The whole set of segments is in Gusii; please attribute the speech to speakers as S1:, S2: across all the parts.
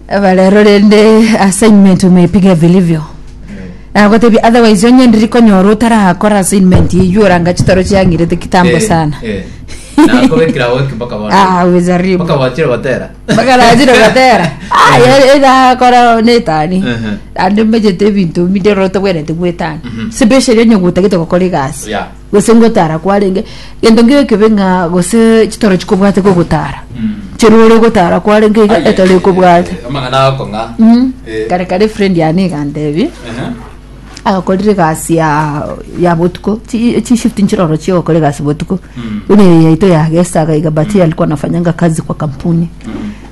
S1: Aba rero rende assignment umeipiga vilivyo. Nagotebia otherwise onye ndiri konyora otarakora assignment eywo oranga chitoro chiang'irete kitambo sana.
S2: Nakobekera weki mpaka bono.
S1: Ah, umejaribu.
S2: Mpaka wachire gotera.
S1: Mpaka nachire gotera. Ah, ya- erakora netani.
S2: Ehe.
S1: Ande mechete ebinto binde oro tobwenerete gwetana. Especially onye gotagete gokora egasi.
S2: Yeah.
S1: Gose ngotara kwarenge, gento nkeiyo ekebe ng'a gose chitoro chikobwate gogotara. Chero ore gotara kwarenge iga
S2: Aye,
S1: etoro ekobwate.
S2: eh, Amang'ana agokong'a.
S1: Mm.
S2: Eh.
S1: Kare kare friend yane igantebi,
S2: Ehe.
S1: agakorire egasi ya ya botuko, chi chishift nchiroro chiogokora egasi botuko. Buna eye yaito ya gesaga iga but yeye alikuwa anafanyanga kazi kwa kampuni.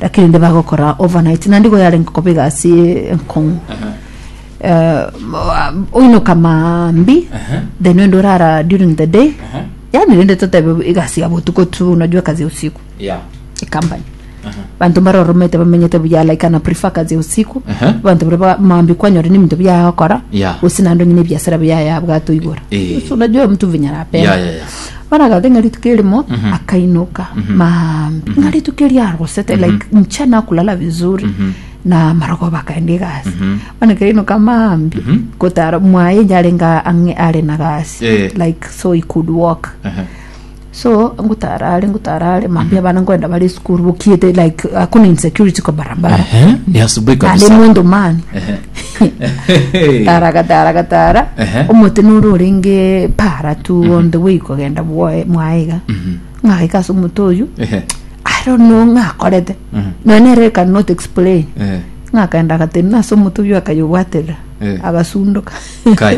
S1: Lakini nde bagokora overnight naende igo yarenge koba egasi enkong'u.
S2: Ehe.
S1: eh, oinoka maambi
S2: Ehe.
S1: then wende orara during the day
S2: Ehe.
S1: yani rende totebe egasi ya botuko tu unajua kazi ya usiku
S2: Yeah.
S1: ecompany bantu mbaroromete bamenyete buya like ana prefer kazi ya usiku
S2: Ehe.
S1: bantu baria ba- maambi kwanyora ni ebinto biagokora
S2: Yeah.
S1: gose naende onye na ebiasara biaye yabwate oigora
S2: Eh.
S1: so unajua mtu venye anapenda
S2: Yeah, yeah, yeah.
S1: bono agate ng'a rituko erimo akainoka maambi ng'a rituko erio arosete like mchana akulala vizuri na marogoba akaenda egasi bono ekero ainoka maambia gotara mwaye inche arenge ang'e are na gasi
S2: Eh.
S1: like so he could walk
S2: Ehe.
S1: so ngotara are ngotara are mambia abana nkoenda bare esukuru bokiete like hakuna insecurity kwa barabara
S2: Ehe, ni asubuhi
S1: naende
S2: kabisa
S1: mwendo mani
S2: Ehe.
S1: tara gatara gatara
S2: Ehe.
S1: omote noro orenge para tu on the way kogenda bwoe mwae iga ng'agaika ase omote oyo
S2: Ehe.
S1: I don't know ng'akorete nonya nere cannot explain
S2: Eh.
S1: ng'akaenda agatenena ase omote oyio akayobwaterera
S2: Eh.
S1: agasundoka
S2: Kai.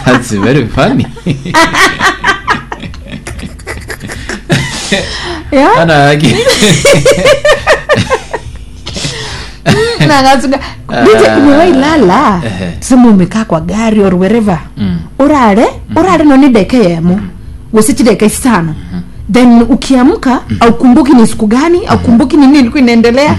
S2: That's very funny.
S1: Yeah.
S2: Ana yake.
S1: Nagasunga. Dije umewahi lala
S2: Ehe.
S1: tuseme umekaa kwa gari or wherever urare urare noni dakika yemo gose chidakika isano then ukiamka aukumbuki ni siku gani aukumbuki ni nini ilikuwa inaendelea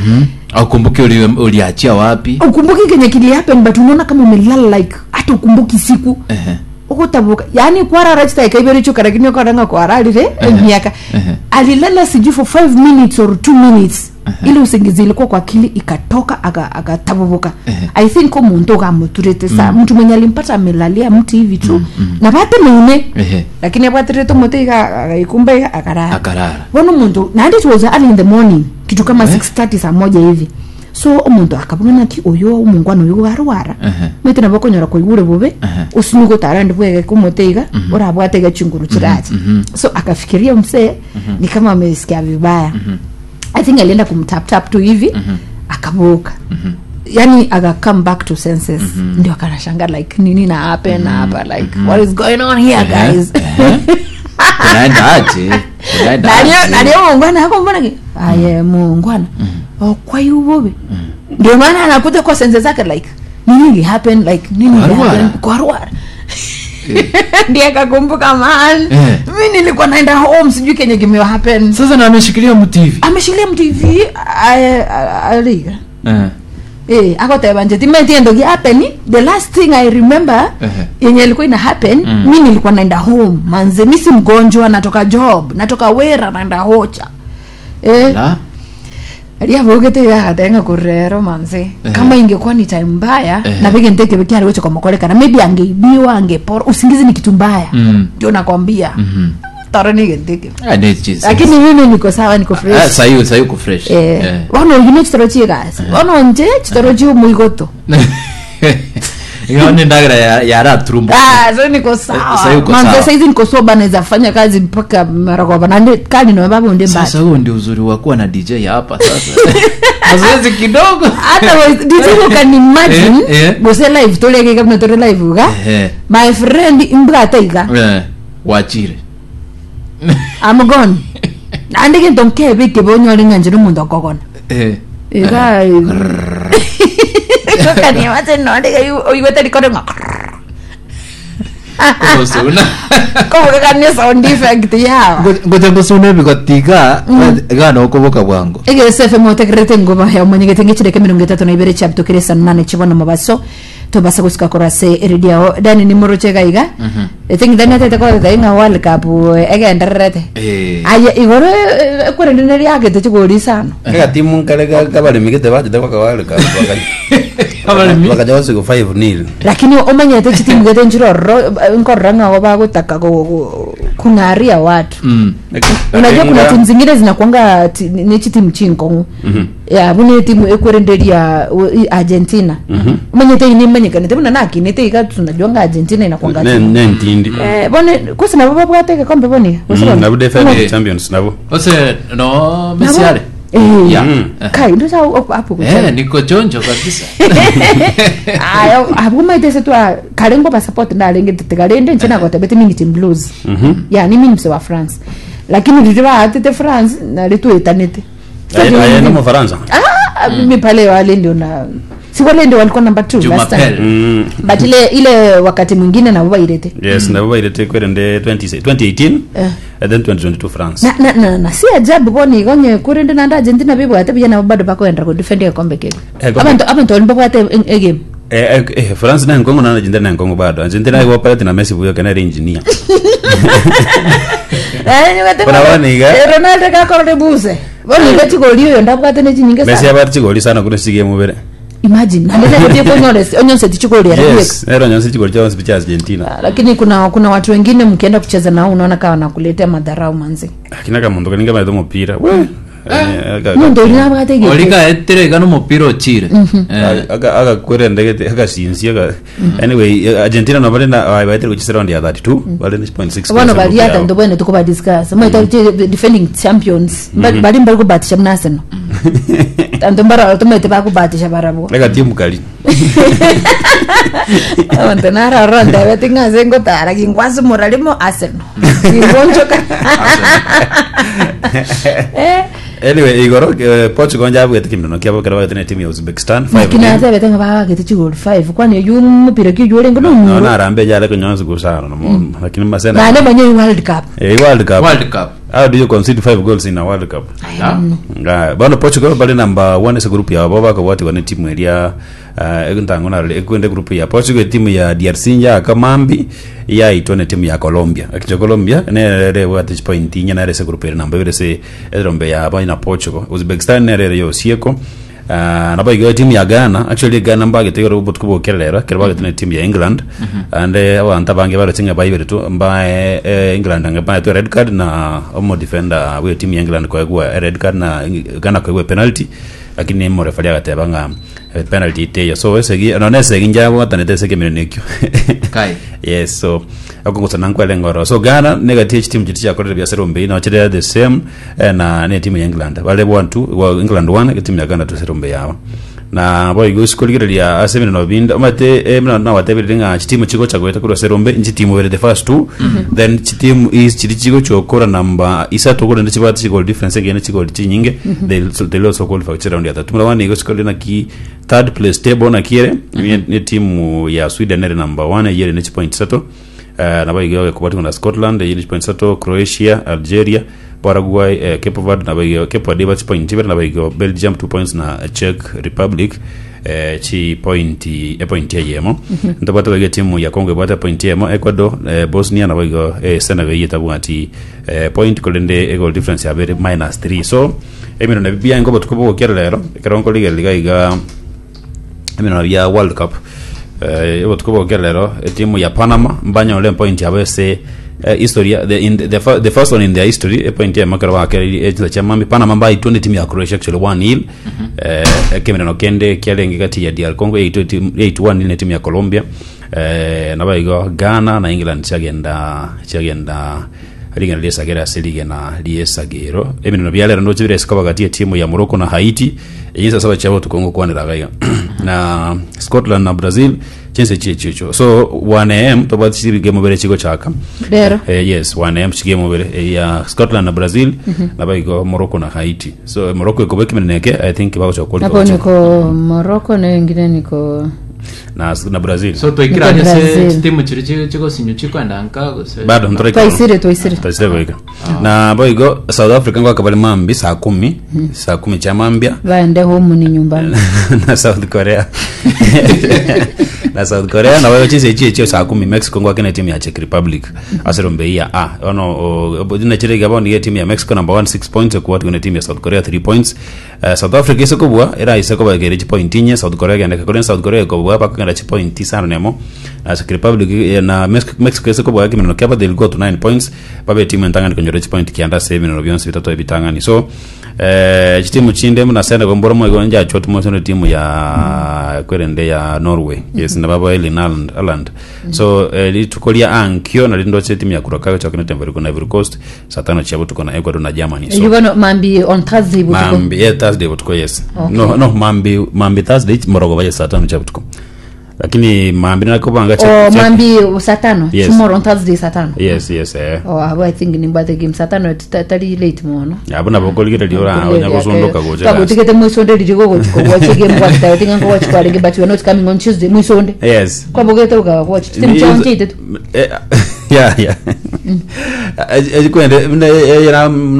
S2: Aukumbuke uli- uliachia wapi?
S1: ukumbuki kenye kili happen but unaona kama umelala like hata ukumbuki siku
S2: Ehe.
S1: ugotabuka yani kwarara chidakika ibere choka lakini okoranga kwararire emiaka
S2: Ehe.
S1: alilala sijui for 5 minutes or 2 minutes ile usingizi ilikuwa kwa akili ikatoka aka- akatabubuka
S2: Ehe.
S1: i think omuntu ogamuturete sa mtu mwenye alimpata amelalia mti hivi tu na batemeine
S2: Ehe.
S1: lakini abwaterete omote iga agaikumba iga akarara
S2: Akarara.
S1: bono omonto naende it was early in the morning kitu kama
S2: Eh.
S1: 6:30 saa moja hivi so omonto akabuna naki oyo omongwana oyo arwara
S2: Ehe.
S1: maete nabo okonyora koigure bobe
S2: Ehe.
S1: osinye gotara ndi bwegeka omote iga orabwate iga chinguru chirache so akafikiria msee ni kama amesikia vibaya i think alienda kumtap tap tu hivi akaboka yani aka come back to senses ndio akanashanga like nini na happen hapa like what is going on here
S2: Ehe,
S1: guys
S2: ehe. Kunaenda aje? Kunaenda
S1: Nalio
S2: aje?
S1: nalio muungwana ako mbona ki aye muungwana okwai ubobe ndio maana anakuja kwa sense zake like nini ili happen like nini ili
S2: Kwarwara.
S1: happen kwarwara ndiye akakumbuka man
S2: Eh.
S1: mi nilikuwa naenda home sijui kenye kime happen
S2: Sasa na ameshikilia mti hivi.
S1: ameshikilia mtu hivi aye- a- aliga
S2: Eh.
S1: Eh, akoteba nje timeti endo ki happen the last thing i remember
S2: Ehe.
S1: yenye ilikuwa ina happen mi nilikuwa naenda home manze mi si mgonjwa natoka job natoka wera naenda hocha eh
S2: La.
S1: riavugite yagatenga kurero manze
S2: Ehe.
S1: kama ingekuwa ni time mbaya
S2: Ehe.
S1: na vige nteke vikiari gocho komokorekana maybe angeibiwa angepora usingizi ni kitu mbaya
S2: Mm.
S1: ndio nakwambia
S2: Mhm.
S1: toro ni genteke
S2: Ah, ni Jesus.
S1: lakini mimi niko sawa niko fresh
S2: Ah, sahi sahi uko fresh.
S1: eh
S2: Eh.
S1: bono oyu ne chitoro chie egasi bono nche chitoro chie omoigoto
S2: Ingawa ni ndagara ya yaraturumbuka.
S1: Ah, so niko sawa
S2: Sasa uko
S1: Manze,
S2: sawa.
S1: saizi niko soba naweza fanya kazi mpaka maragoba na ndi kali na babu ndi mbali
S2: Sasa huo ndio uzuri wa kuwa na DJ hapa sasa. Mazoezi kidogo.
S1: hata we- DJ you can imagine
S2: Eh, eh.
S1: gose live toleke kama tore live uga
S2: Eh.
S1: my friend imbwate iga
S2: Eh, wachire.
S1: I'm gone nandi kinto nkebe kebe onyore ng'a nche nomonto okogona
S2: Eh.
S1: iga kaniamate nonde oigwete rikore ng'a
S2: Kogosuna.
S1: kobogekania sound effect yawa
S2: Ngoja ngosuna ebigotiga iga nokoboka bwango.
S1: egese fm otegerete ngoba ya omonyegete ng'echireke emerongo etato na ibere chiabutokire saa nane chibono mobaso. Tobasa gosika korwa ase eredio yao. Dani nimoroche iga iga. I think Dani atete kogoteba ng'a World Cup eh, egendererete.
S2: Eh.
S1: Aye igoro eh, eh, korende neriagete chigori isano.
S3: Egatimu nkare ga- kabaremi gete bachete goaka World Cup, baka-
S2: Abaremi.
S3: bakacha gosigo 5 nil.
S1: Lakini omanyete chitimu gete nchire ororo eh, nkorora ng'a igo bagotaka go- go- kung'aria watu.
S2: Mm.
S1: Unajua kuna
S3: Nga-
S1: timu zingine zinakuanga ti- ni chitimu chinkong'u. Ya buna etimu ekwerenderia u- i- Argentina. Omanyete eye nimanyekanete buna nakinete iga tunajua nga Argentina inakuanga
S3: Ne-
S1: timu.
S3: nentindi
S1: Eh, bono kose nabo babwate egekombe bono iga? Gose
S3: Mm,
S1: bono?
S3: nabo defending
S2: Eh.
S3: champions nabo
S2: Ose no Messi
S1: Nabo-
S2: are.
S1: Eh.
S2: Yeah.
S3: Mm.
S2: Eh.
S1: Kai ndo sa hapo
S2: Eh,
S1: kucheza.
S2: niko chonjo kabisa.
S1: Ayo abwo maite ase twa kare ngoba support ndarenge tigarende nche nagotebete mingi team blues. Ya ni mimi mse wa France. Lakini riri baatete France nari twetanete.
S3: Aye- aye no mufaransa
S1: Ah, mimi pale wale ndio na si wale ndio walikuwa number 2 last time.
S2: Jumapili.
S3: Mm.
S1: But ile ile wakati mwingine nabo bairete.
S3: yes nabo bairete kwerende 20 2018
S1: Eh.
S3: and then 2022 france
S1: Na, na, na, na si ajabu bono igo onye korende naende Argentina bibwate buya nabo bado bakoenda kodefend egekombe keria.
S3: Egekombe.
S1: Abanto abanto baria mbabwate e- egame.
S3: Eh, eh, eh, france na nkongo na argentina na nkongo bado argentina igo operate na messi buya kana engineer Bona bono iga.
S1: Eh, Ronaldo gakorore buse. Bono iga chigori oyo ndabwate ne chinyinge
S3: messi
S1: sana.
S3: abate chigori sana kune sige mubere
S1: Imagine naende nagotie konyora onyonse tichigori ere bweka.
S3: yes ero nyonse chigori chonse picha argentina
S1: Ah, Lakini kuna kuna watu wengine mkienda kucheza nao unaona kama wanakuletea madharau manzi.
S3: akina kamundu kaninga maitho mupira we Eh, aka-
S1: Mundu ori nabwate egete.
S2: Olika etire gano mupira ochire. Eh.
S3: aka- akakwerendegete akasinsia aka- anyway eh, argentina no bari na baitire guchisa round ya 32 bari ni 0.6
S1: Bono bari ata ndo bwene tukuba discuss. Mwaita defending champions. Ba- Bari mbari kubatisha muna Arsenal. Tanto mbara tumete bakubatisha barabwo.
S3: eka timu kali
S1: Abanto nararora ndebete ng'a ase ngotara gingwasimora rimo Arsenal. Gingonchoka. Eh,
S3: anyway igoro eh, portugal njabwete kimino kiabo kero bagete ne timu ya uzbekistan 5
S1: lakini atebete ng'a babagete chigoli 5 kwani oyu mupira ki oyu orenge
S3: no
S1: nomuro.
S3: narambe jale kunyonza gusana no lakini masena
S1: Naende manye World Cup.
S3: eh world cup
S2: World Cup.
S3: how do you concede 5 goals in a world cup
S2: Ah.
S3: Nga, bono portugal bali number 1 ase group yabo bakobwatigwa ne timu eria uh, ntango narore ekwende group ya portugal timu ya drc njaka mambi yaitwa ne timu ya colombia akicho colombia nerere bwate point inya nere ase group ere namba ibere ase erombe yabo na portugal uzbekistan nerere yosieko Uh, nabo igo timu ya Ghana actually Ghana mbagete igoro obotuko bokerera kero bagete ne timu ya England and eh, abanto abange baroche ng'a baibere tu mbae eh, England ng'a baetwe red card na omo defender we timu ya England koegwa red card na Ghana koegwa penalty lakini omorefari agateba ng'a eh, penalty teyo so esegi no nesegi njabwatanete ase ekemerero ekio
S2: Kai.
S3: yes so okongosana nkwele ngoro so ghana negatie chitimu chiti chiakorire biasara ombei no chire the same eh, na ne timu ya england bale 1 2 well, england 1 timu ya ghana tusere ombei yabo na boigo sikorigereria ase emirano binde omanyete emirano nabatebereire ng'a chitimu chigocha goeta korwa ase erombe nchitimu ibere the first two then chitimu is chiri chigocha okora number isato korende chibwate chigoli difference egene chigoli chinyinge they'll, so they'll also qualify gochia round ya tatu muna bono igo chikorire naki third place table naki ere mm ne timu ya Sweden ere number 1 eyere ne chipoint isato uh, nabo igo ekobwatigwa na Scotland eyere chipoint isato Croatia Algeria Paraguay eh, Cape Verde nabo igo Cape Verde eba chipoint ibere nabo igo Belgium 2 points na Czech Republic eh, chipoint epoint eyemo ntobwate boigo etimu ya Congo ebwate epoint eyemo Ecuador eh, Bosnia nabo igo eh, Senegal eyio etabwati eh, point korende egoal difference yabo ere minus 3 so Emerano ebi biaye nkobotuko bogokera rero, ekero nkorigereria iga iga emerano bia World Cup eh, obotuko bogokera rero etimu ya Panama mbanyore epoint yabo ase eh, history ya- the, in the, the, fir- the first one in their history epoint yamo ekero bakereirie echinsa chia mambia Panama mbaitwe ne timu ya Croatia actually 1-0 eh, ekemerano kende kiarenge gati ya DR Congo yaitwe timu- yaitwe 1-0 ne timu ya Colombia eh, nabo igo Ghana na England chiagenda chiagenda Rigena ri'esagero ase rigena ri'esagero. Emineno bia rero ndoche bire isiko bagati etimu ya Morocco na Haiti eyio saa saba chia botuko ngokwanera iga iga na Scotland na Brazil chinse chie chicho so 1am tobwate chigame bere chigochaka
S1: Rero.
S3: eh, yes 1am chigame bere eh, ya Scotland na Brazil nabo igo Morocco na Haiti so eh, Morocco ekoba ekemeneno eke I think bagocha
S1: Hapo
S3: qualify
S1: niko Morocco na wengine niko
S3: na, na Brazil
S2: So twaikire
S1: Niko
S2: ase
S1: Brazil.
S2: chitimu chiria chigosinywa chikwenda nka gose
S3: bado ntoraika
S1: twaisire twaisire
S3: twaisire goika na boigo south africa ngwaka bari mambi saa kumi saa kumi cha mambia
S1: vaende home ni nyumbani
S3: na south korea Na South Korea nabo chinse echi echio saa kumi Mexico ngwake na timu ya Czech Republic ase rombe hii ya A. Ono o chire iga bono iga timu ya Mexico number 1 6 points ekwatwa na timu ya South Korea 3 points. Eh, South Africa ase kobua eraise kobekera chipoint inye South Korea egende kore South Korea ekobua bakogenda chipoint isano nemo na Czech Republic eh, na Mexico, Mexico ase kobua ekemeneno kiabo they'll go to 9 points babe etimu entang'ani konyora chipoint kianda ase ebimeneno bionsi bitato ebitang'ani so eh, chitimu chinde buna Senegal mboro moigo njachwa timoso ne timu ya kwerende ya Norway yes nababo Erling Haaland Haaland so eh, rituko ria ankio nari ndoche timu ya Curacao ichoke ne timu ya Ivory Coast saa tano chia botuko na Ecuador na Germany so
S1: You gonna mambi on Thursday butuko.
S3: mambi yeah, Thursday botuko yes
S1: Okay.
S3: no no mambi mambi Thursday morogo baye saa tano chia botuko lakini mambi nakobanga
S1: Oh, mambi saa tano.
S3: Yes.
S1: Tomorrow on Thursday saa tano.
S3: yes yes eh
S1: Oh, abo I think nimbate game saa tano tari late mono.
S3: abo nabo koligereria ora onya gosondoka gocha
S1: Kagotigete mwisonde riri gogochiko watch game kwa tayo tinga ngo watch kwa but you are not coming on Tuesday mwisonde.
S3: yes
S1: Kwabogete ukawa watch. Timu chonje itetu.
S3: Eh, yeah yeah ejikwende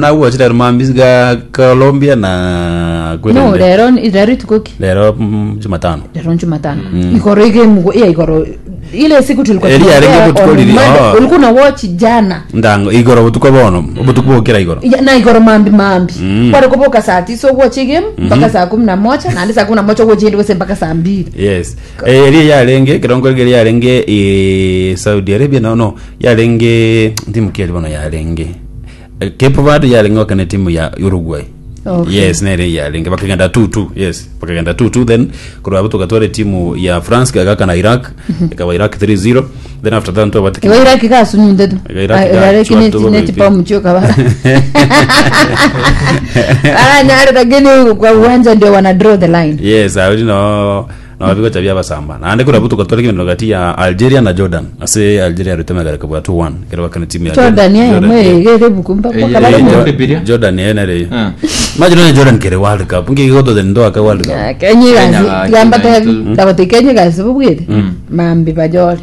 S3: nawachire mambi ga Colombia na
S1: No,
S3: kwerende
S1: rero rero itukoki.
S3: lero mm, Jumatano
S1: Rero Jumatano. Ikoro game iya ikoro ile siku tulikuwa
S3: Eri
S1: tunaongea
S3: yarenge
S1: on
S3: butuko riri,
S1: Monday,
S3: oh.
S1: ulikuwa una watch jana.
S3: ndango igoro butuko bono obutuko bokera igoro
S1: Ya, na igoro mambi mambi mm. kwari saa tisa watch game mpaka saa kumi na moja na andi saa kumi na moja watch indi mpaka saa mbili
S3: yes Eh, eri yarenge kirongo eri yarenge eh, Saudi Arabia no no yarenge timu ki bono yarenge Eh, Cape Verde yarenge wakane timu ya Uruguay
S1: Okay.
S3: yes nere yarenge bakagenda 2-2 yes bakagenda 2-2 then kurwa tukatwara timu ya France gagaka na Iraq ikaba Iraq 3-0 then after that ntwa
S1: iwe iraki kasunyunde tu
S3: Iwe Iraki ka-
S1: iraki
S3: chwa tu
S1: netipa
S3: vipi.
S1: mchoka bara baranyare lakini kwa uwanja ndio wana draw the line
S3: yes awiri no no bigo chabia basamba naande kura butuka twari kimeno gati ya Algeria na Jordan ase Algeria rutemegara kabwa 2-1 kero bakana timu ya
S1: Jordan yaye
S3: Jordan,
S1: mwe
S3: yeah.
S1: gere bukumba kwa
S2: Eh,
S1: kabare
S2: eh,
S1: mu
S2: Jordan. Bibilia?
S3: Jordan yenere
S2: Mm.
S3: imagine ne Jordan kere World Cup ngi goto den ndo aka World Cup
S1: kenye
S2: Kenya
S1: kazi
S2: ga-
S1: gamba
S2: Kenya
S1: te
S2: itu.
S1: ndabati kenye kazi bubwire mambi bajole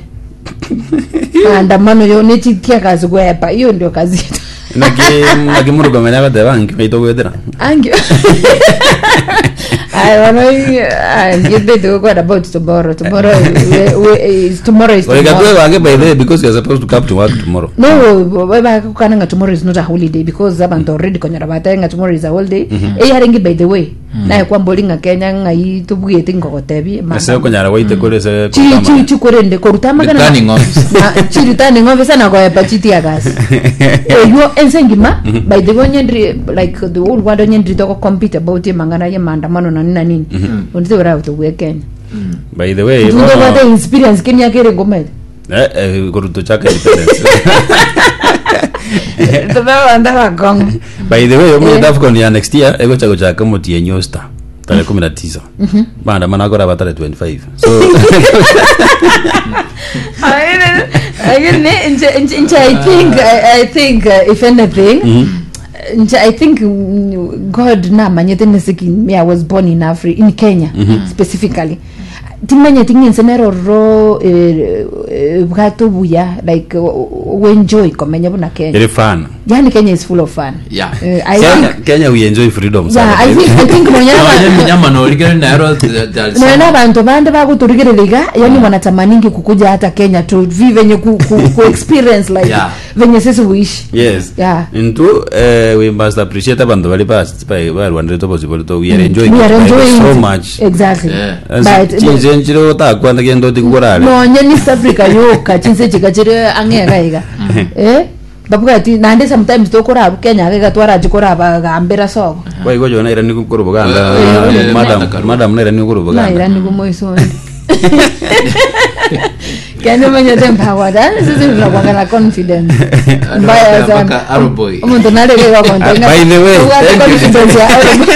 S1: maandamano yo nechitia kazi kwepa hiyo ndio kazi yetu
S3: naki naki murugamenya bateba nki gwethera
S1: Angi. I wanna I'm get to go about tomorrow. Tomorrow we, we, is tomorrow is
S3: Oiga
S1: tomorrow.
S3: tuwe wange by the way because you're supposed to come to work tomorrow
S1: No, bakananga tomorrow is not a holiday because abantu already konyora batenga tomorrow is a holiday. Eh yarengi by the way. Naye kwambolinga Kenya ngai tubwete ngogotebi.
S3: ase okonyara gwaite kore se
S1: Chi chi chi korende korutama kana.
S2: Returning officer.
S1: Na chi returning officer na koepa chitia gas. Eyo ensengima by the way nyendri like the whole world nyendri toko compete about mangana ye maandamano na nini na nini. Undize ura utubwe Kenya.
S3: by the way
S1: Tunde
S3: bono-
S1: kwate experience Kenya kere ngoma.
S3: eh eh koruto chaka independence
S1: Tubaba bakong.
S3: by the way omu
S1: Eh.
S3: AFCON ya next year egocha gochaka mutienyo star tarehe 19 maandamano akora ba tarehe 25 so
S1: Lakini nje nje nje I think I, I think if anything nje I think God namanyete nesiki me I was born in Africa in Kenya specifically timanyete ng'ense neroro eh, eh, bwato buya like wenjoy komenya buna Kenya
S3: iri fun
S1: yani Kenya is full of fun
S2: Yeah.
S1: I
S3: Kenya,
S1: think
S3: Kenya we enjoy freedom
S1: yeah
S3: sana.
S1: I think I think
S2: Nonye
S1: nonyana
S2: minyama norigere naero
S1: naona abantu bande baguturigiriria iga yani wanatamaningi kukuja hata kenya tu vi venye ku, ku, ku experience like
S2: Yeah.
S1: venye sisi uishi
S3: yes
S1: Yeah.
S3: into eh, we must appreciate abantu bali barwanire tobosi bolito we are enjoying,
S1: we are
S3: it
S1: enjoying
S3: so
S1: it.
S3: much
S1: exactly
S2: Yeah.
S1: but
S3: chinje nchiro otakwanda gendo tigurare
S1: nonye ni East Africa yoka chinse chika chiri ang'ega iga eh babwati nande sometimes tokora Kenya gega twaraji koraba gambira soko
S3: waigo jona ira niku kuru buganda
S2: Eh, eh,
S3: madam
S2: eh,
S3: madam naira niku kuru buganda
S1: naira nikumoisoni kenya menyete mpawata sisi tunakuanga na confidence mbaya sana
S2: mpaka Arrowboy.
S1: umuntu naregeka
S3: By the way, thank you.
S1: confidence ya Arrowboy.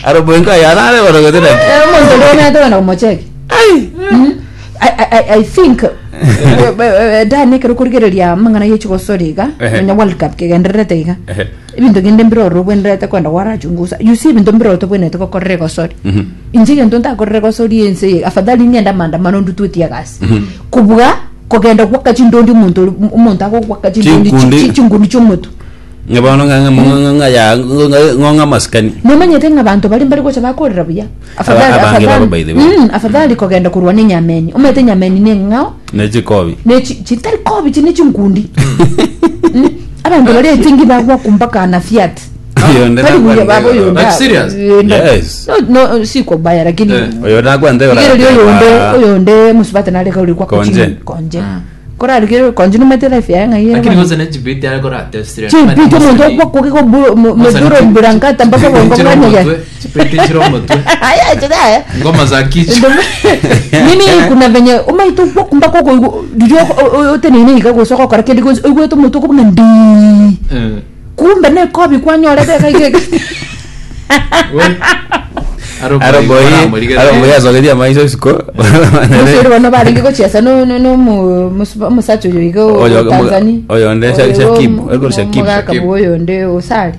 S3: aroboinka yarare barogotera
S1: Eh, umuntu ndonete wena kumocheki I, I, I think danekere kurigereria mang'ana yechigosori iga
S3: Ehe.
S1: nonya world cup kegendererete iga
S3: Ehe.
S1: ebinto kende mbiroro bwenderete kwenda warachungusa you see ebinto mbiroro bwenete gokorera egosori inche egento ntakorera egosori ense eye afadhali ng'enda maandamano ndutwetie egasi kobua kogenda gwaka chindondi omonto omonto agogwaka chindondi
S3: Chinkundi.
S1: chinkundi chia omotu.
S3: Ng'a bono ng'a- ng'a- ng'a- ng'a ya ng'a- ng'ong'a amasikani
S1: Nomanyete ng'a abanto baria mbari gocha bakorera buya. Afadhali
S3: Abange babo
S1: afadhali
S3: by the way.
S1: afadhali kogenda korwa ne enyameni. Omanyete enyameni ne eng'ao
S3: ne chikobi
S1: ne chi chitari kobi chi ne chinkundi. Abanto baria etingi bagwakwa mpaka na fiat.
S3: Oyonde
S1: Tari buya
S3: nakwande
S1: baba
S3: igoro.
S1: oyonde.
S2: Like serious?
S3: Yes.
S1: No, no si kwa baya lakini
S2: Eh.
S3: Oyo nakwande igoro
S1: Rigereria oyonde
S3: agateba,
S1: oyonde musubate nareka ori kwa
S3: Konje.
S1: konje. Korarigere konje nomanyete life yaye ng'ai ere
S2: Lakini
S1: bono.
S2: gose ne chibiti are koratestire.
S1: Chibiti omonto okwa koge meduro mburankata mpaka bongo bwanyegera.
S2: Chibiti chiro omotwe.
S1: Aya chidaya.
S2: Ngoma za kichwa.
S1: Mimi kuna venye omaite okwa mpaka okoigwa riria oteneine iga gose ogokora kende gionsi oigwete omonto okobuna ndii.
S2: Eh.
S1: Kumbe nekobi kwanyorete iga iga iga.
S2: We. Aroboi
S3: Aroboi
S2: baramorigereria.
S3: aroboi asogetie amaiso isiko
S1: Mosiri bono barenge gochiesa no no no mu- musu- omosacha oyo iga o
S3: Oyo-
S1: Tanzania.
S3: oyo nde Sha-
S1: Oyo
S3: Shakib,
S1: omu-
S3: oyo Shakib.
S1: omogaka
S2: Shakib.
S1: bwa oyo nde osari.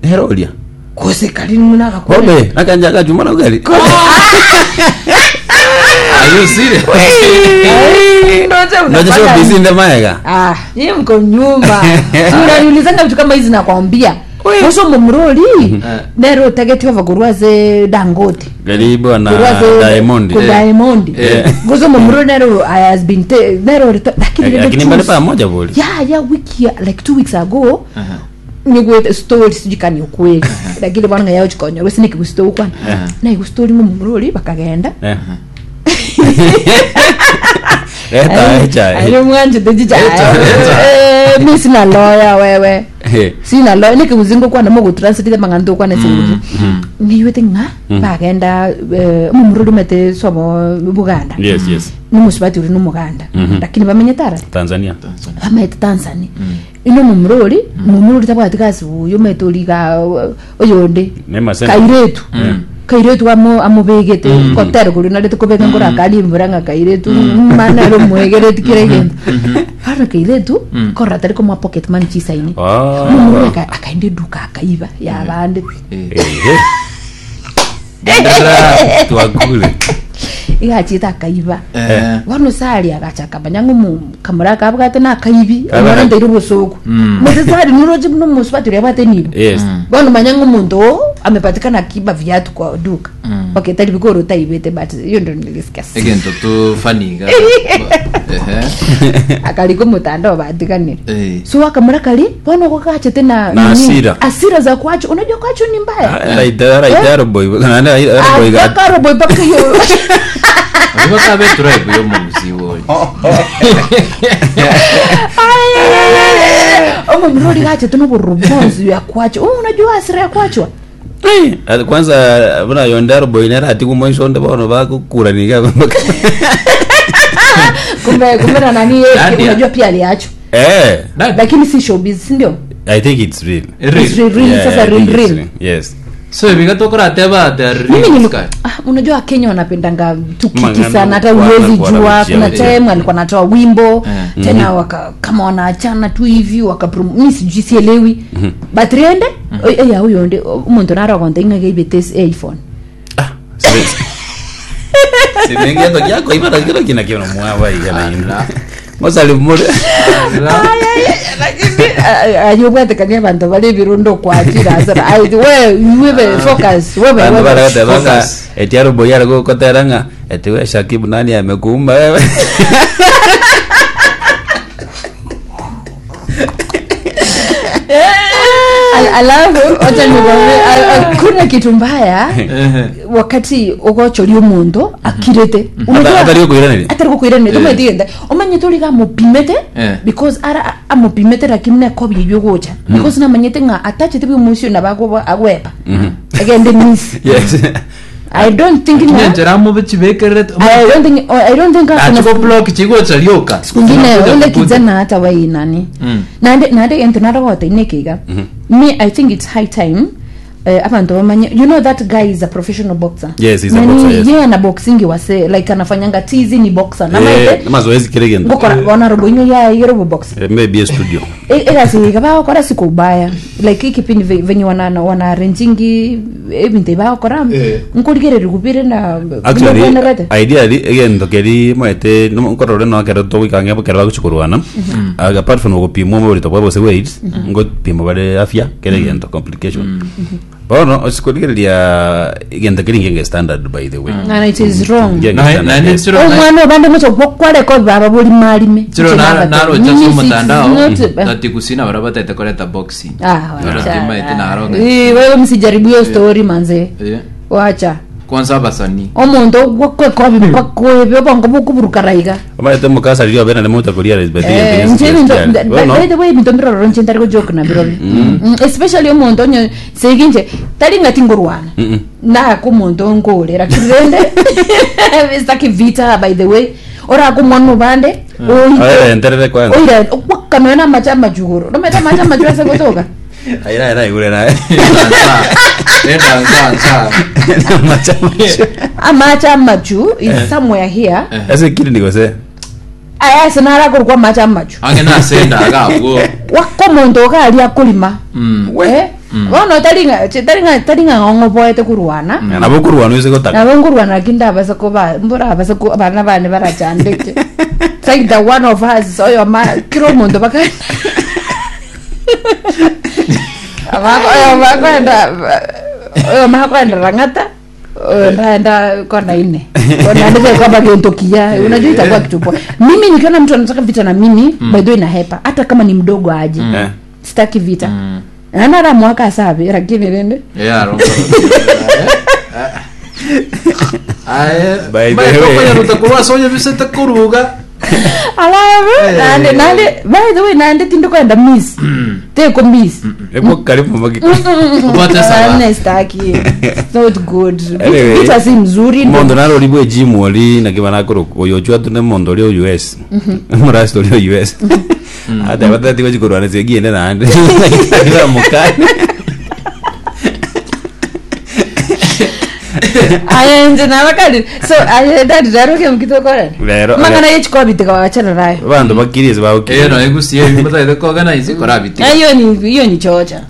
S3: nere oria
S1: Gose kari muna agakora.
S3: kobe nakanja akachuma nogari
S2: Are you serious?
S1: Ndoche
S3: noche
S1: unapata-
S3: busy nde maega
S1: Ah, nyinyi mko nyuma. Si unaniulizanga vitu kama hizi nakwambia. Uso mumroli nero utageti ova kurwaze Dangote.
S3: karibu na
S1: Kurwaze
S3: Diamond
S1: Ku
S2: Eh.
S1: Diamond.
S2: Eh.
S1: Gozo mumroli nero has been te, nero lakini rende
S3: lakini mbali
S1: choose.
S3: pamoja boli
S1: Yeah, yeah, wiki ya- like 2 weeks ago. nigwete story sijui kani ukweli lakini bwana yao chikonyo gose nikigustory kwana na igustori mumroli bakagenda
S3: Eh. Eta echa
S1: Ayo mwanjete chicha
S2: Eta, eta.
S1: Eh, mi sina lawyer wewe
S3: Eh.
S1: sina lawyer nikiguzingo kwana mogutranslate mang'anto kwana singuzi niywete ng'a bagenda eh, omomurori omete sobo buganda
S3: yes yes
S1: nomusubati ori nomuganda lakini bamenyete arare
S3: Tanzania
S1: bamaete tanzania ino momurori momurori tabwati gasi buya omete ori iga oyonde
S3: Ne maseme.
S1: kairetu kairetu amobegete kotera kori narete kobeka nkorakari embura ng'a kairetu mana ere omwegereti kera egento bono kairetu korora tari komoa pocket money chisaini
S3: Ah.
S1: momurori akaenda eduka akaiba yabande
S2: Eh.
S3: Ehe.
S2: Genderera.
S3: Twakule
S1: iga achete akaiba
S2: Eh.
S1: bono sari agacha akamanya ng'a omo kamura kabwate na akaibi
S3: Kabara-
S1: omwana ntaire obosoku mose sari niroche buna omosubati oria abwate nibo
S3: yes
S1: bono manya ng'a omonto oo amepatikana akiba viatu kwa duka okay tari bikoro taibete but hiyo ndo nilisikia
S2: Egento tu funny iga. Ehe.
S1: akarika omotandao batiganire
S2: Eh.
S1: so akamura kari bono oko gachete na
S3: Na
S1: nini,
S3: hasira.
S1: hasira za kwacho unajua kwacho ni mbaya
S3: Araita araita aroboi nane aroboi ga
S1: akaroboi mpaka hiyo
S2: Oyo bakabe tribe yo muguzi woyo.
S1: omomurori gachete noborobonzi ya kwacho oh, unajua hasira ya kwachwa
S3: Eh, kwanza buna yonde aroboi nere atigu moiso onde bono bagokuraniga
S1: kumbe kumbe na nani yeye
S2: Nadia.
S1: unajua pia aliachwa
S3: eh
S2: Nani?
S1: lakini si showbiz si ndio
S3: i think it's real
S2: Real.
S1: It's real, real,
S3: Yeah,
S1: sasa
S3: I
S1: real,
S3: think it's
S1: real.
S3: real. yes
S2: So ibiga tokorateba the
S1: mimi
S2: real
S1: nili
S2: sky.
S1: ah, unajua wakenya wanapendanga tukiki
S3: Mangano,
S1: sana hata
S3: kuana,
S1: huwezi
S3: kuana,
S1: jua
S3: kuchia,
S1: kuna
S3: kuchia.
S1: time alikuwa anatoa wimbo
S2: Eh.
S1: tena waka, kama wanaachana tu hivi wakaprom mi sijui sielewi but riende ya huyo ndi omonto narogonte ing'ake ibete iphone
S3: ah simengeto kyako ibara kiro kina kino mwaba igana ino mosali mure
S1: ayobwatekania abanto bari ebirundo kwachira asara Ai, we wewe focus wewe
S3: bantu
S1: wewe
S3: baratebanga
S2: Focus.
S3: eti aroboi aragokotera ng'a eti we Shakibu nani amekuumba wewe
S1: Alafu wacha nikwambie hakuna kitu mbaya
S2: Ehe.
S1: wakati ugochoria omonto akirete
S3: Ata- atari gũkwĩranĩria?
S1: atari gukwiraniria
S2: Eh.
S1: tumaitigende omanyete origa amupimete
S2: Eh.
S1: because ara amupimete lakini nekobi eywo gocha because namanyete ng'a atachete bia omoisio nabo agwepa agende miss
S3: yes
S1: i don't think ng'a
S2: Nyenjera amobe chibekererete.
S1: i don't think i don't think
S2: Achiko
S1: akona
S2: block chigocha rioka.
S1: siku ngine
S2: Zinakuja
S1: ule
S2: kukuja.
S1: kijana hata wai nani
S2: Mm.
S1: nande nande ento narogote inekiga me i think it's high time. Eh, abantu bamanye you know that guy is a professional boxer
S3: Yes, he's a
S1: Nani,
S3: boxer, yes.
S1: yeye ana boxing wase like anafanyanga tizi ni boxer
S3: Eh,
S1: namaete
S3: mazoezi kere gento
S1: ngokora bona robo inyo ya yero boxer
S3: Eh, maybe a studio
S1: egasi bagokora sikubaya like ikipindi venye wana wana arrangingi ebinto bagokora
S2: Eh.
S1: nkorigereria gubire na
S3: actually
S1: bwenerete.
S3: ideally egento keri maete nkorore no kero togoikanga kero bagochikorwana apart from gopimwa oborito bwa bose weight ngopimwa bare afya kere gento complication bono osikorigereria egento keri ngenge standard by the way
S1: And it is wrong
S3: Ngenge
S2: Na-
S3: standard,
S2: na-
S3: yes.
S2: chiro-
S1: omwana obande mocho gokwareko baba bori marime
S2: chiro narocha
S1: Mimi
S2: ase
S1: si-
S2: omotandao
S1: not-
S2: tati kusina bara batete koreta boxing
S1: Ah,
S2: Naro
S1: wacha.
S2: timaete naronga.
S1: Eh, wewe msijaribu hiyo story manze
S2: Eh,
S1: wacha
S2: kwanza abasani
S1: omonto gwakwekobi mpaka obongo bukuburukaraiga
S3: Omanyete mukasaririo abene nemocha koria but
S1: Eh, nche ebinto by the way ebinto mbirororo nche ntari gojoke na birobio especially omonto onye segi nche tari ng'ati ngorwana naka omonto nkorera kirende sitaki vita by the way oraka omwana obande
S3: enterere kwanza
S1: oira okwakanwa na amache amachugoro nomete amache amachugoro ase gotoka
S3: aira aira igure naye
S2: Enda nsa nsa
S3: Amache amachu.
S1: amache amachu is somewhere here
S3: ase kiri nigose
S1: aya sinarakorwa amache amachu
S2: ange nasenda agabwo
S1: waka omonto okaria akorima
S2: Mm.
S1: Eh? Bono taring'a taring'a taring'a ng'oboete kurwana
S3: nabo kurwana ase gotaka
S1: nabo nkurwana lakini ndabasa kuba mburabasa ku abana bane barachandeke It's like the one of us oyo ma kira omonto baka Abako- oyo makwenda oyo makwenda rang'ata oyo ndaenda kona ine kona ndio kwamba gento kia unajua itakuwa kitu poa mimi nikiona mtu anataka vita na mimi by the way nahepa hata kama ni mdogo aje
S3: Eh.
S1: sitaki vita anara mwaka sabi lakini rende
S2: Yeah, rongo. Aye,
S3: By the way.
S2: rutakurwa sonya bisete kuruga.
S1: alafu nande nande by the way nande tindokwenda miss teko miss
S3: Eko karibu magi
S2: Upate sawa.
S1: Nane sitaki It's not good
S3: Anyway,
S1: vita si mzuri
S3: mondo narori bwe gym ori naki banakoro oyo chwa tune mondo ri US murasi ori US ata batati bachikorwana segiende nande mukane
S1: aya nje nabakali so aya dadi daroke mukitokora
S3: Lero-
S1: mangana yechikobitika wachana nayo
S3: bandu bakiriese
S2: Eh,
S3: bagokire
S2: no egusie bimutaite koorganize korabiti.
S1: hiyo ni hiyo ni chocha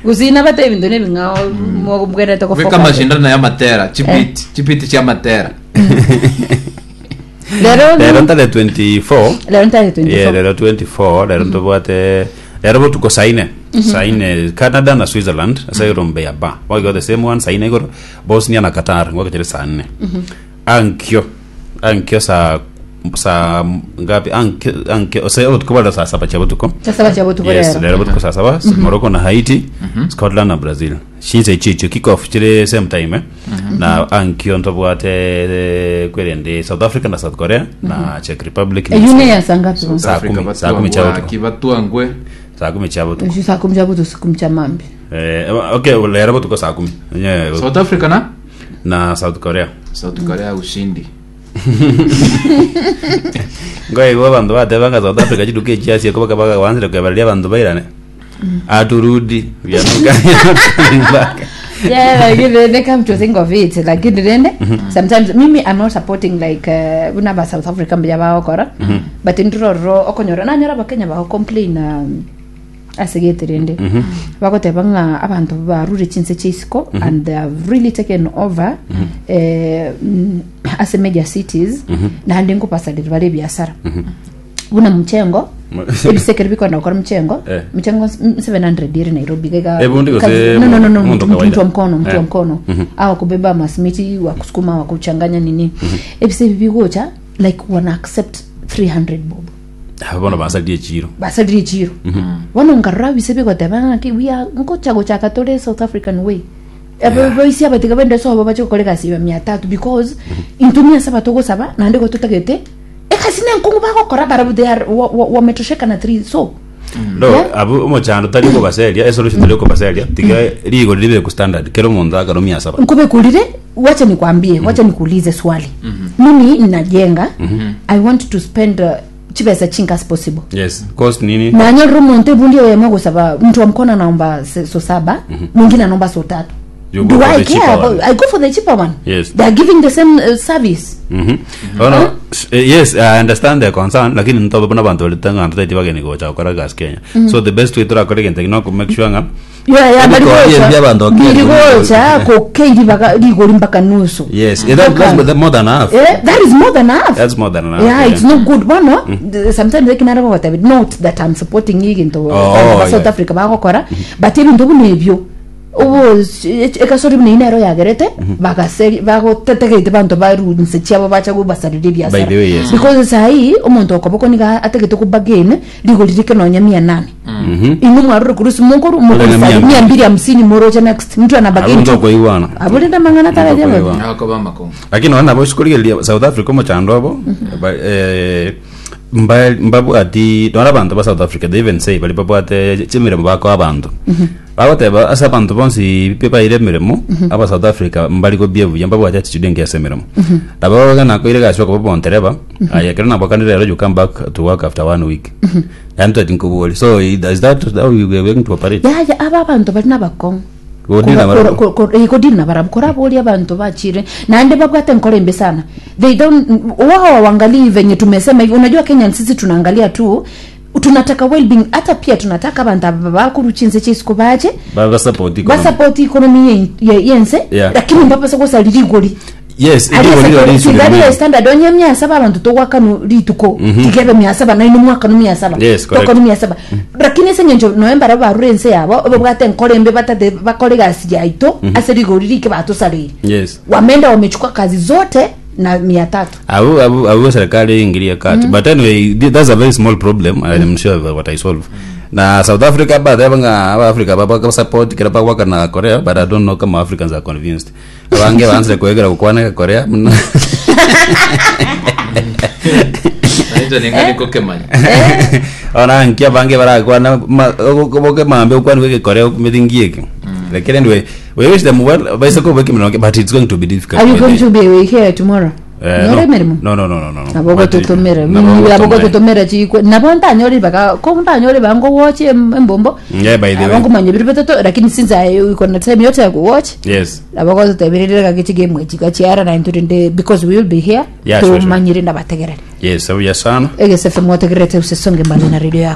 S1: kusina bata ebintu nebing'ao mubwerete
S2: Weka mashindano ya matera, chipiti, chipiti cha matera.
S1: lero
S3: lero ntale 24
S1: lero ntale 24
S3: yeah lero 24 lero ntobwate lero botuko saine saine canada na switzerland ase rombe ya ba wago the same one saine igoro bosnia na qatar ngwakachere saa nne ankyo ankyo saa saa ngapi ankyo ankyo ose botuko bala saa saba cha botuko
S1: saa saba cha botuko
S3: yes
S1: lero
S3: lero botuko saa saba morocco na haiti scotland na brazil shinse ichicho kick off chire same time eh? na ankyo ntobwate eh, kwerende south africa na south korea na czech republic na
S1: eyune ya saa ngapi
S3: Saa kumi, saa kumi cha botuko.
S2: Kibatuangwe.
S3: saa kumi cha botuko
S1: saa kumi cha butu siku mcha mambi
S3: Eh, okay lero botuko saa kumi Nye,
S2: South Africa na
S3: na south korea
S2: South Korea ushindi.
S3: ngoigo abandu batebanga south africa chiduka echiasia koba bakawanzire kwebareria abandu bairane aturudi back
S1: yeah lakini rende come to think of it lakini rende sometimes mimi i'm not supporting like buna ba south africa mbuya bagokora but ndirororo okonyora nanyora bakenya bago complain asegete rende bagoteba ng'a abanto barure chinse chia isiko and they have really taken over ase major cities naende nkopasaliri bare ebiasara buna mchengo ebisekeri bikwenda gukora mchengo
S3: Eh.
S1: mchengo 700 iri nairobi gaiga
S3: Eh, bundi gose
S1: no, no, no, no,
S3: mundu
S1: mtu, mtu
S3: kawaida.
S1: wa mkono mtu wa
S3: Eh.
S1: mkono au kubeba masimiti wa kusukuma wa kuchanganya nini ebise bigocha like wana accept 300 bob
S3: bono basarie chiro
S1: basalire chiro bono nkarora bise bigoteba ng'aki we are nkocha gochaka tore south african way boisi abatiga bende sobo bache gokora egasi ya mia tatu because intumia saba togosaba naende gototagete egasi nenkongu bagokora barabu they are wametosheka na 3 so
S3: no
S1: Yeah.
S3: abu omochando tari kobaseria esolution tari kobaseria tiga rigo ribe ku standard kero omonto akaro mia saba
S1: nkubekulire wacha nikwambie wacha nikuulize swali mimi ninajenga i want to spend chibesa chinke as possible.
S3: Yes, cost nini?
S1: Nanyorire omonto ebundi eyemo ogosaba mtu wa mkono anaomba se- so saba mwingine anaomba so tatu.
S3: You go
S1: Do
S3: for
S1: I
S3: the
S1: care
S3: cheaper
S1: about,
S3: one.
S1: I go for the cheaper one.
S3: Yes.
S1: They are giving the same service.
S3: Mhm. Oh, no. Yes, I understand their concern, lakini ntobe buna bantu barete ng'a toteti bageni gocha gokora egasi Kenya. So the best way torakore egento eki no make sure ng'a
S1: Yeah, yeah, bari
S3: Ebikori
S1: gocha-
S3: ebi abanto
S1: biri
S3: bakeri-
S1: gocha kokeiri baka rigori mpaka nusu.
S3: Yes, eh, that's more than half.
S1: Eh, that is more than half.
S3: That's more than half.
S1: Yeah, it's not good bono. Sometimes ekinara gogotebia not that I'm supporting egento
S3: Oh,
S1: abanto ba
S3: yeah.
S1: South Africa bagokora but ebinto buna ebio obo ekasori buna eyio nero yagerete bagaseri bagotetegeite banto baru nse chiabo bacha gobasarera ebiasara
S3: By the way, yes.
S1: because sahi omonto okoboko niga atagete kobagain rigori rike nonya mia nane inwe mwarure kurusi mokoru
S3: Mia
S1: mokorusa
S3: mbili.
S1: mia mbili hamsini moroche next mtu anabagain
S3: Abunto koigwana.
S1: aburinde amang'ana
S3: Abunto
S1: tararia
S3: koigwana.
S2: Akoba amakongo.
S3: Lakini nonya nabo chikorigereria South Africa omochando obo eh, mba- mbabwati nora abanto ba South Africa they even say bari babwate chimiremo bakoa abanto bagoteba ase abanto bonsi pi baire emiremo aba South Africa mbari kobia buya mbabwate attitude engiya ase emiremo nabo bagana koira egasi okoba bontereba aye ekero nabokanire rero you come back to work after one week yaani twati nkobori so is that how we are going to operate
S1: yaya aba abanto bari nabakong'u
S3: Kodina barabwo.
S1: kodina barabwo koraboria abanto bachire naende babwate enkoro embe sana they don't wao hawaangalii venye tumesema hivi unajua Kenya sisi tunaangalia tu tunataka well-being hata pia tunataka abantu aba bakuruchinse chisiko bache
S3: Ba- ba support economy.
S1: basupport economy yense
S3: Yeah.
S1: lakini mbapasa gosari rigori
S3: yes
S1: Aria
S3: rigori
S1: sekere-
S3: riri
S1: tigari
S3: riri.
S1: standard onye mia saba abantu togwakanu rituko tigebe mia saba naino mwakanu mia saba
S3: Yes, correct.
S1: tokanu mia saba lakini ase eng'encho noe mbara barure ense yabo babwate enkoro embe batate bakore egasi yaito ase rigori rike batosareire
S3: yes
S1: wameenda wamechukua kazi zote na mia tatu
S3: abu abu abu serikali ingilia kati but anyway that's a very small problem and i'm sure what i solve na south africa bateba ng'a aba africa baba support kira bagwaka na korea but i don't know kama africans are convinced abange banzire kwegera gukwana korea muna
S2: Nainche ninga nikokemanya.
S3: ona nkia bange barakwana boke mambe ukwana kwege korea kumithingi eki lakini anyway we wish them well baiseko boke minoke but it's going to be difficult
S1: are you going to be here tomorrow
S3: Eh,
S1: Nore
S3: no.
S1: emeremo
S3: no no no no no no.
S1: nabo
S3: But-
S1: gototomera
S3: nabo
S1: nabo
S3: gotomera.
S1: gototomera chikwe nabo ntanyore baka ko ntanyore bango watch embombo
S3: Yeah, by the way.
S1: abango manya biri betoto lakini since I iko na time yote ya kuwatch
S3: yes
S1: nabo gototeberere gakichige mwechika chiara na nturinde because we will be here
S3: Yeah, sure, sure.
S1: tumanyire ndabategerere
S3: yes abuya sana
S1: egesefe mwategerete usesonge mbali na radio yako.